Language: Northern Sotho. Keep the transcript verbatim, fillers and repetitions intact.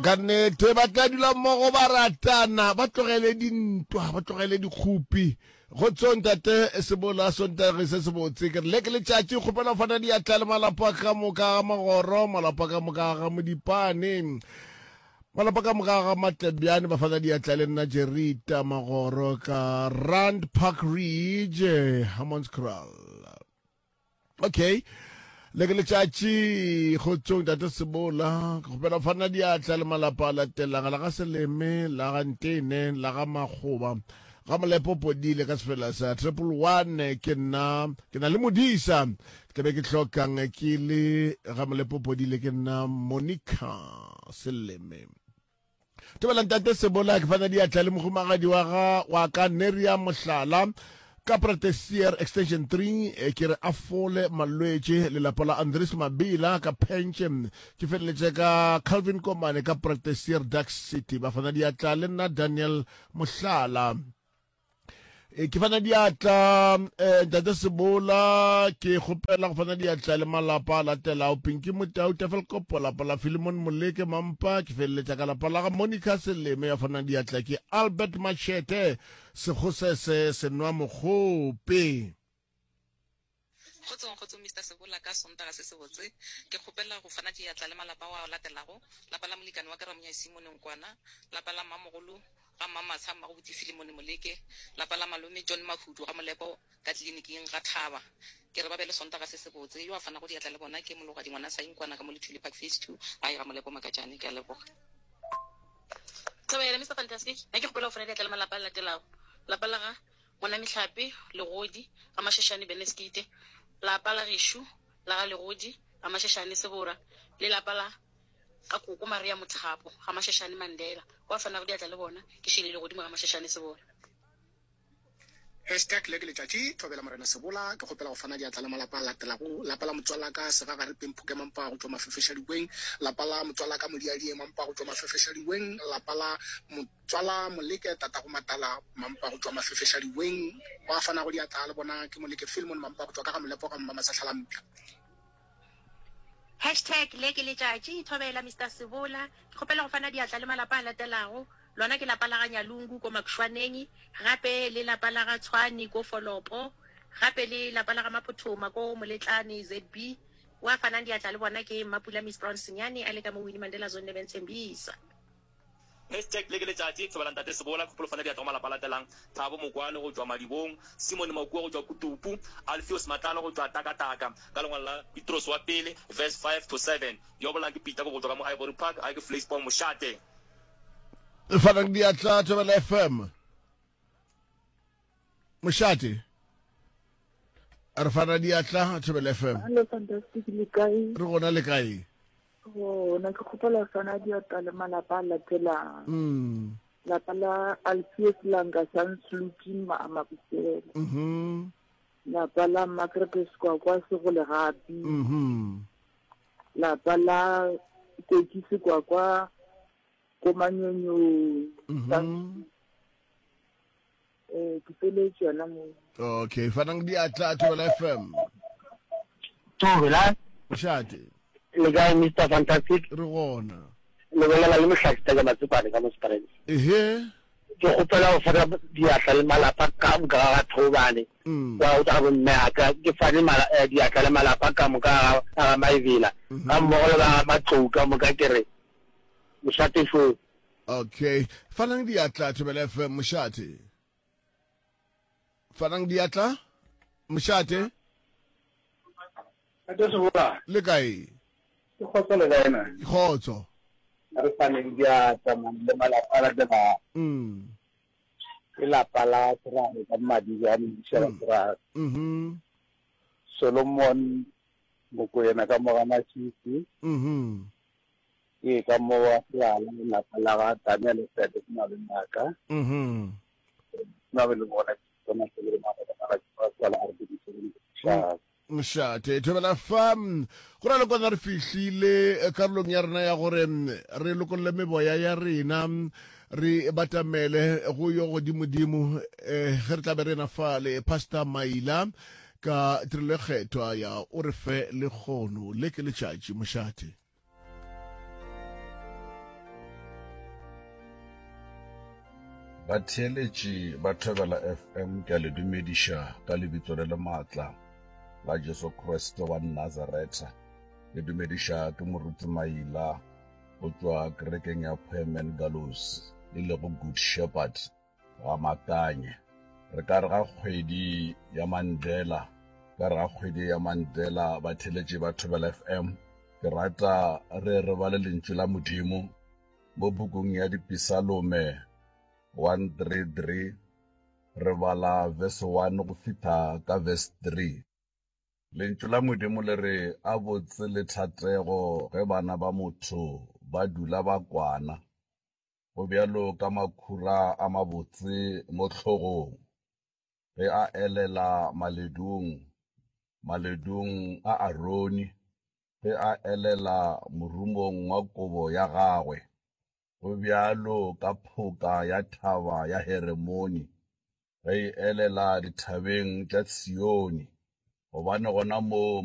Ka nnete ba tla dula mmogo ba ratana, ba tlogele dintwa, ba tlogele dikgopi. Kgotsong tate Sebola, Sontage se sebotse. Ke re le ke letšatši, kgopela go fana diatla le malapa ka moka ga Magoro, malapa ka moka ga Modipane, malapa ka moka ga Matlebjane, ba fana diatla le nna Jerita Magoro ka Rand Park Ridge, Hammanskraal. Okay. Le ke letšatši kgotsong tate Sebola, ke kgopela go fana diatla le malapa a latelang la ga Seleme, la ga Ntene, la ga Makgoba, ga Molepo Podile ka sefela sa triple one. Ke nna ke na le modisa, ke tlabe ke hlokang ke le ga Molepo Podile, ke nna Monica Seleme. Thobela ntate Sebola, ke fana diatla le mohumagadi wa ga wa ka Neria Mohlala ka Pratesier Extension three, eh, ke re a fole malwetše. Lelapa la Andres Mabila ka Pentše, ke feleletše ka Calvin Komane ka Pratesier Dark City, ba fana diatla le nna Daniel Mohlala. E, ke fana diatla eh, ntate Sebola, ke kgopela go fana diatla le malapa a latelago Pinky Motau, Tafelkopo, lapa la Philemon Moleke Mampa, ke feleletša ka lapa la ga Monica Seleme, ya fana diatla ke Albert Machete Sekgosese Senwa Mokgope. Kgotsong, kgotsong Mister Sebola, ka Sontaga se sebotse, ke kgopela go fana diatla le malapa ao a latelago, lapa la molekane wa ka Ramonyae Simone Nkwana, lapa la mmamogolo ga Mmamatsha Mmagobotse Filimone Moleke, lapa la malome John Mahudu ga Molepo ka tleliniking ga Thaba. Ke re ba be le Sontaga se sebotse. Yo a fanago diatla le bona ke Mologadi ngwana Sainkwana ka mo Lethuli Park Phase two, gae ga Molepo Makatšane. Ke a leboga. Thobela Mister Fantastic, nna ke kgopela go fana diatla le malapa a latelago, lapa la ga Ngwana Mehlape, Legodi, ga Mashashane Beneskite, lapa la gešo la ga Legodi, ga Mashashane Sebora, le lapa la ga Koko Maria Mothapo, ga Mashashane Mandela. Wa fanago diatla le bona ke Shirley Legodimo ga Mashashane Sebora. Hashtag le ke letšatši, Thobela Morena Sebola, ke kgopela go fana diatla le malapa a latelago, lapa la motswalaka Segagare Pemphuke Mampa go tšwa Mafefešadiweng, lapa la motswalaka Modiadie Mampa go tšwa Mafefešadiweng, lapa la motswala Moleke Tatago Matala Mampa go tšwa Mafefešadiweng, wa fanago diatla le bona ke Moleke Filmon Mampa go tšwa ka ga Molepo ga Mmamasahlalampša. Hashtag le ke letšatši, Thobela Mister Sebola, ke kgopela go fana diatla le malapa a latelago, lona ke lapa la ga Nyalungu ko Makshwaneng, gape le lapa la ga Tshwane ko Folopo, gape le lapa la ga Maphothoma ko Moletlane Z B. Wa fanang diatla le bona ke Mmapula Miss Brown Senyane a le ka mo Winnie Mandela Zone Durban Tembisa. Hashtag le ke letšatši, Thobela Ntate Sebola, kgopolo fana diatla go malapa a latelang, Thabo Mokwale go tšwa Madibong, Simon Makua go tšwa Kutupu, Alfios Matlala go tšwa Takataka, ka lengwalo la Petrose wa pele, verse five to seven. Yo bolang ke Peter go tšwa ka mo Ivory Park, gae ke Vleisboom Mošate. Fanang diatla Thobela F M. Mošate. Re fana diatla Thobela F M. Hello Fantastic, le kae? Re gona, le kae? Gona, ke kgopela go fana diatla le malapa a latelang. Mm. Lapa la Alfios Langa Sansluki Mabusela. Mhm. Lapa la Margaret Sekwakwa Segolegapi. Mhm. Lapa la Koki Sekwakwa Komanyonyong. Mhm. Eh, ke feletše yona mo. Okay, fanang diatla Thobela F M. Thobela. Mošate. Le kae Mister Fantastic? Re gona. Le bolela le Mohlakista ka Matsepane ka mo Springs. Ehe. Ke kgopela go fana diatla le malapa ka moka ga ga Thobane. Mm. Wa go tša bomme a ka ke fane mala, eh, diatla le malapa ka moka ga, ga Maebela. Mm-hmm. Ga mmogo le ba Matlou ka moka ke re mošate šo. Okay, fanang diatla Thobela F M mošate. Fanang diatla mošate. Ntate Sebola. Le kae? Ke kgotso le kae na? Ke kgotso. A re faneng diatla man le malapa a latelang. Mm. Ke lapa la Serare ka Mmadijane, Modiša wa Serare. Mhm. Solomon Mokoena ka mo ga Masisi. Mhm. Ke ka mo wa Serala, lapa la ga Daniel Sebe ke malome a ka. Mhm. Nna be le bona ke tsona se le malome a ka ke tswala a re ke di Mošate Thobela fa go na le kwana re fihlile karolong ya rena ya gore re lokolle meboya ya rena re batamele go yo godimodimo eh, ge re tla be rena fa le Pastor Maila ka tirelo e kgethwa ya o re fe lekgono le ke letšatši. Mošate. Batheeletši ba Thobela FM ke a le dumediša ka lebitso le le maatla la Jesu Kriste wa Nazaretha. Le dumediša ke Moruti Maila go tšwa kerekeng ya Poemen Gallows e lego Good Shepherd ga Makanye. Re ka re ga kgwedi ya Mandela, ka re ga kgwedi ya Mandela batheeletši ba Thobela FM ke rata re re bale lentšu la Modimo mo bukung ya Dipisalome one three three re bala verse one go fihla ka verse three. Lentšu la Modimo le re a botse le thatego ge bana ba motho ba dula ba kwana, go bjalo ka makhura a mabotse mo hlogong, ge a elela maledung, maledung a Arone, ge a elela morumong wa kobo ya gagwe, go bjalo ka phoka ya thaba ya Heremone, ge e elela dithabeng tša Tsione, gobane gona moo